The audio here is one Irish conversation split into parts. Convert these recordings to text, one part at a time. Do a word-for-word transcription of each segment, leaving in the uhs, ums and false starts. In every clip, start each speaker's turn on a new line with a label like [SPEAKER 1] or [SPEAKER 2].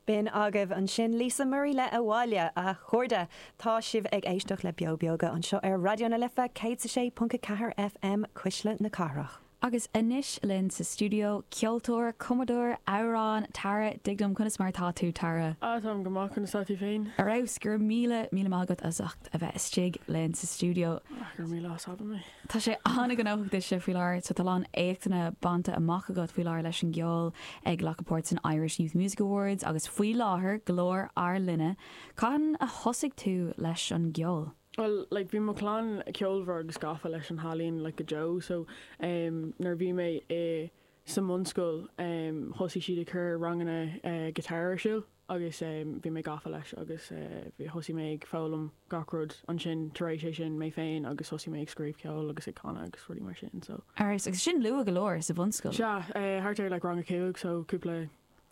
[SPEAKER 1] B'in agaibh ansin Lisa Murray le Abhaile a chairde tá sibh ag éisteacht le Beo Beoga anseo ar Raidió na Life céad a sé ponc a ceathair FM Cuisle na Cathrach.
[SPEAKER 2] Agus anois linn sa stiúideo ceoltóir, cumadóir, amhrán Tara Dignam conas mar tá tú Tara.
[SPEAKER 3] Á táim go maith conas tá tú féin?
[SPEAKER 2] Ar fheabhas go raibh míle míle maith agat as ucht a bheith istigh linn sa stiúideo.
[SPEAKER 3] Gur míle as mé.
[SPEAKER 2] Tá sé an-ghnóthach duitse faoi láthair so tá lán éachtanna bainte amach agat faoi láthair leis an gceol ag glacadh páirt san Irish Youth Music Awards agus faoi láthair Glór ár Linne. Cathain a thosaigh tú leis an gceol?
[SPEAKER 3] Well, like bhí mo chlann ceolmhar agus gafa leis an ealaín like go deo so um, nuair bhí mé i sa mbunscoil um, thosaigh siad ag cur ranganna uh, guitar ar siúl agus um, bhí mé gafa leis agus uh, bhí thosaigh mé ag foghlaim gach rud ansin tar éis é sin mé féin agus thosaigh mé ag scríobh ceol agus ag canadh agus rudaí mar sin so.
[SPEAKER 2] Agus agus sin luath go leor sa bhunscoil.
[SPEAKER 3] Sea, uh, thart ar like rang a cúig so cúpla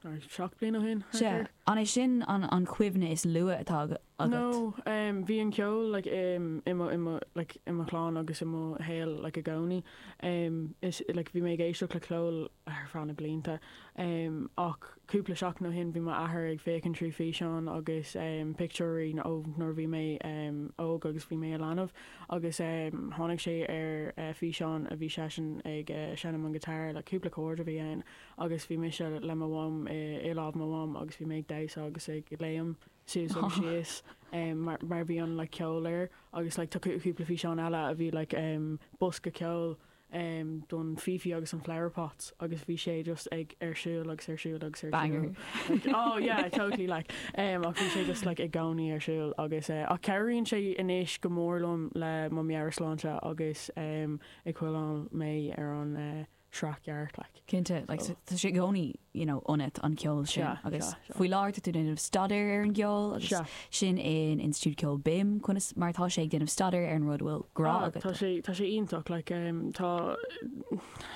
[SPEAKER 3] or seacht bliain ó shin.
[SPEAKER 2] Se an é sin an an chuimhne is luaithe atá agat?
[SPEAKER 3] No, um, bhí an ceol like, um, i mo, i mo, like, i mo chlann agus i mo shaol like, i gcónaí. Um, is, like, bhí mé ag éisteacht le ceol ar feadh na blianta. Um, ach cúpla seachtain ó shin bhí m'athair ag féachaint trí físeán agus um, pictiúirí ó nuair bhí mé um, óg agus bhí mé i leanbh agus um, tháinig sé ar uh, físeán a bhí seisean ag uh, seinm an guitar le cúpla chord a bhí ann agus bhí mise le mo mham i, i lámh mo mham agus bhí mé ag damhsa agus ag léim suas agus síos um, mar, mar bhí an like, ceol air agus like, tá cúpla físeán eile a bhí like, um, bosca ceol um, don Fifi agus an Flower Pots agus bhí sé just ag ar siúl agus ar siúl agus ar
[SPEAKER 2] Banger.
[SPEAKER 3] siúl. Like, oh yeah, totally like um, ach bhí sé just like i gcónaí ar siúl agus uh, ach cabhraíonn sé anois go mór liom le mo meabhairshláinte agus um, ag coinneáil mé ar an uh, sraith ceart like.
[SPEAKER 2] Cinnte like,
[SPEAKER 3] So-
[SPEAKER 2] tá sé i gcónaí you know, ionat an ceol sin
[SPEAKER 3] Sea,
[SPEAKER 2] agus
[SPEAKER 3] sea, sea.
[SPEAKER 2] faoi láthair tú déanamh staidéar ar an gceol agus
[SPEAKER 3] Sea.
[SPEAKER 2] sin in Institiúid Ceoil BIMM conas mar tá sé ag déanamh staidéar ar an rud bhfuil grá
[SPEAKER 3] Ah,
[SPEAKER 2] agat.
[SPEAKER 3] Tá sé tá sé iontach like, um, tá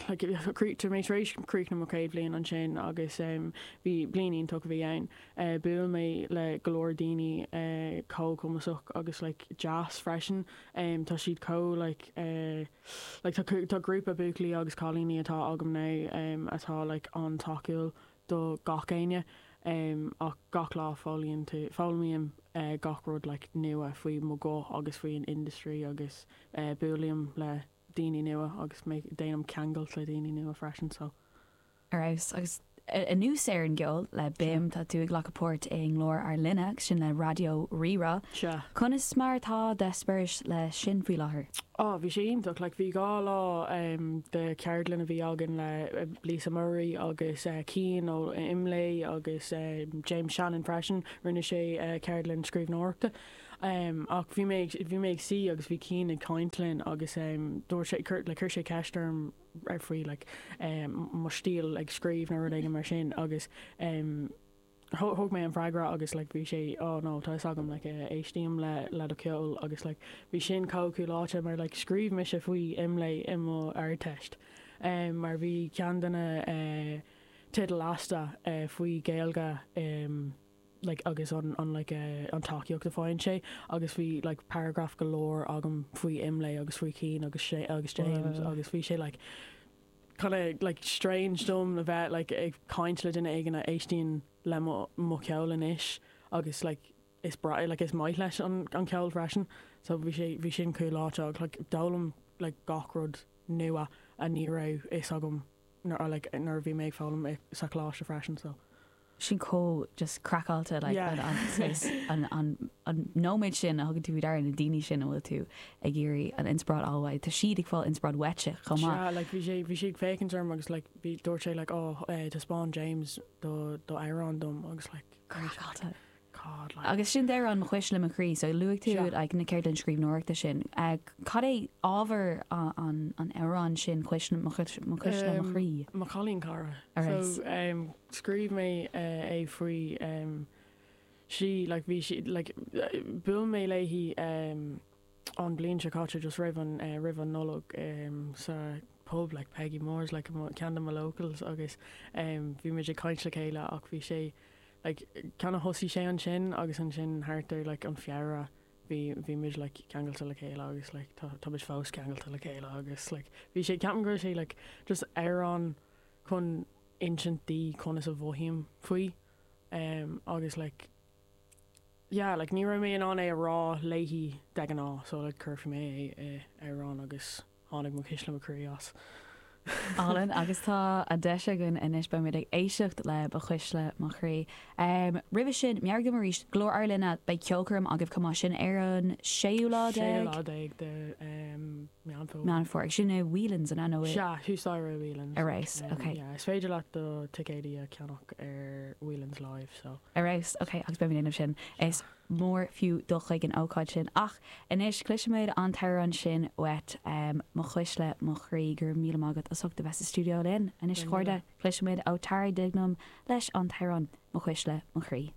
[SPEAKER 3] like, tá mé tar éis críochnú mo chéad bhliain ansin agus um, bhí bliain iontach a bhí ann. Uh, Bhuail mé le go leor daoine uh, chomh cumasach agus like, jazz freisin. Um, tá siad chomh like, uh, like, tá, tá grúpa buachaillí agus cailíní atá agam ná um, atá like, an-tacúil do gach éinne. Um, ach gach lá foghlaíonn tú foghlaimím uh, gach rud like, nua faoi mo go agus faoi an industry agus uh, buailim le daoine nua agus mé déanaim ceangal le daoine nua freisin so.
[SPEAKER 2] Ar fheabhas agus anuas ar an gceol le BIMM tá tú ag glacadh páirt i nGlór ár Linne agus sin le Raidió Rí-Rá.
[SPEAKER 3] Sea.
[SPEAKER 2] Conas mar tá d'eispéireas le sin faoi láthair.
[SPEAKER 3] Á bhí sé iontach like, bhí dhá lá um, de ceardlann a bhí againn le uh, Lisa Murray agus uh, Cian ó Imlé agus uh, James Shannon freisin rinne sé uh, ceardlann scríbhneoireachta. Um, ach bhí mé bhí mé ag suí agus bhí Cian ag caint linn agus um, dúirt sé cur le chuir sé ceist orm ar faoi like, um, mo stíl ag scríobh nó rud éigin mar sin agus um, thug mé an freagra agus like, bhí sé oh no tá agam like, uh, éistím le le do cheol agus like, bhí sin cúláte mar like, scríobh mise faoi Imlé i mo Ardteist. Um, mar bhí ceann de na uh, teidil lasta uh, faoi Gaeilge um, like, agus an, an, like, uh, an tacaíocht a fhaigheann sé agus bhí like, paragraph go leor agam faoi Imlé agus faoi Cian agus sé agus James
[SPEAKER 2] Wow.
[SPEAKER 3] agus bhí sé like, kind of like strange dom a bheith like ag caint le duine éigin a éistíonn le mo mo cheol anois agus like is breá like is maith leis an an ceol freisin so bhí sé bhí sin cúláte like d'fhoghlaim like gach rud nua a ní raibh fhios agam nuair like nuair a bhí mé ag foghlaim i- sa choláiste freisin so
[SPEAKER 2] Sin chomh just craiceáilte like,
[SPEAKER 3] Yeah.
[SPEAKER 2] an, an, saghas- an, an, an nóiméad sin a thugann tú faoi deara na daoine sin a bhfuil tú ag iarraidh an inspioráid a fháil Tá siad ag fáil inspioráid uaitse chomh maith.
[SPEAKER 3] Sea, like bhí sé bhí sé ag féachaint orm agus like bhí dúirt sé like oh eh, taispeáin James do do amhrán dom agus like
[SPEAKER 2] Craiceáilte.
[SPEAKER 3] God like
[SPEAKER 2] Agus sin deir an Mo Chuisle Mo Chroí, so luaigh tú
[SPEAKER 3] Sea.
[SPEAKER 2] like, na ceardlann scríbhneoireachta sin. Uh, Cad é ábhar an, an, an amhrán sin cuisle mo chuisle mo
[SPEAKER 3] Um,
[SPEAKER 2] chroí?
[SPEAKER 3] Mo chailín cara.
[SPEAKER 2] Alright.
[SPEAKER 3] So um, scríobh mé uh, é faoi um, sí like bhí sí like bhuail mé léi um, an bliain seo caite just roimh an uh, roimh an Nollag um, sa pub like Peggy Moore's like mo- ceann de mo locals agus um, bhí muid ag caint le chéile ach bhí sé like kind of thosaigh sé ansin agus ansin thart ar like an Feabhra bhí bhí muid like ceangailte le chéile agus like tá tá muid fós ceangailte le chéile agus like bhí sé ceapaim go raibh sé like just amhrán chun insint di conas a mhothaím faoi Um, agus like yeah, like ní raibh mé in ann é a rá léi de ghnáth, so like chuir mé é amhrán agus tháinig mo chuisle mo chroí as.
[SPEAKER 2] Álainn agus tá an deis againn anois beimid ag éisteacht le Ba Chuisle Mo Chroí. Um, Roimhe sin meabhraigh dom arís Glór Ár Linne beidh ceolchoirm agaibh chomh maith sin ar an séú lá
[SPEAKER 3] Séú
[SPEAKER 2] déag
[SPEAKER 3] lá déag de um, Meán Fómhair.
[SPEAKER 2] Meán Fómhair sin i Whelan's an nó
[SPEAKER 3] Sea, thuas staighre Whelan's.
[SPEAKER 2] Ar fheabhas,
[SPEAKER 3] Um,
[SPEAKER 2] okay.
[SPEAKER 3] Yeah, is féidir leat do ticéidí a cheannach ar Whelan's Live, so.
[SPEAKER 2] Ar fheabhas, ok, agus beimid déanamh sin is mór fiú dul chuig an ócáid sin ach anois cloisfimid an t-amhrán sin uait um, mo chuisle mo chroí go raibh míle maith agat as ucht a bheith sa stiúideo linn anois
[SPEAKER 3] Go
[SPEAKER 2] chairde cloisfimid ó Tara Dignam leis an t-amhrán mo chuisle mo chroí.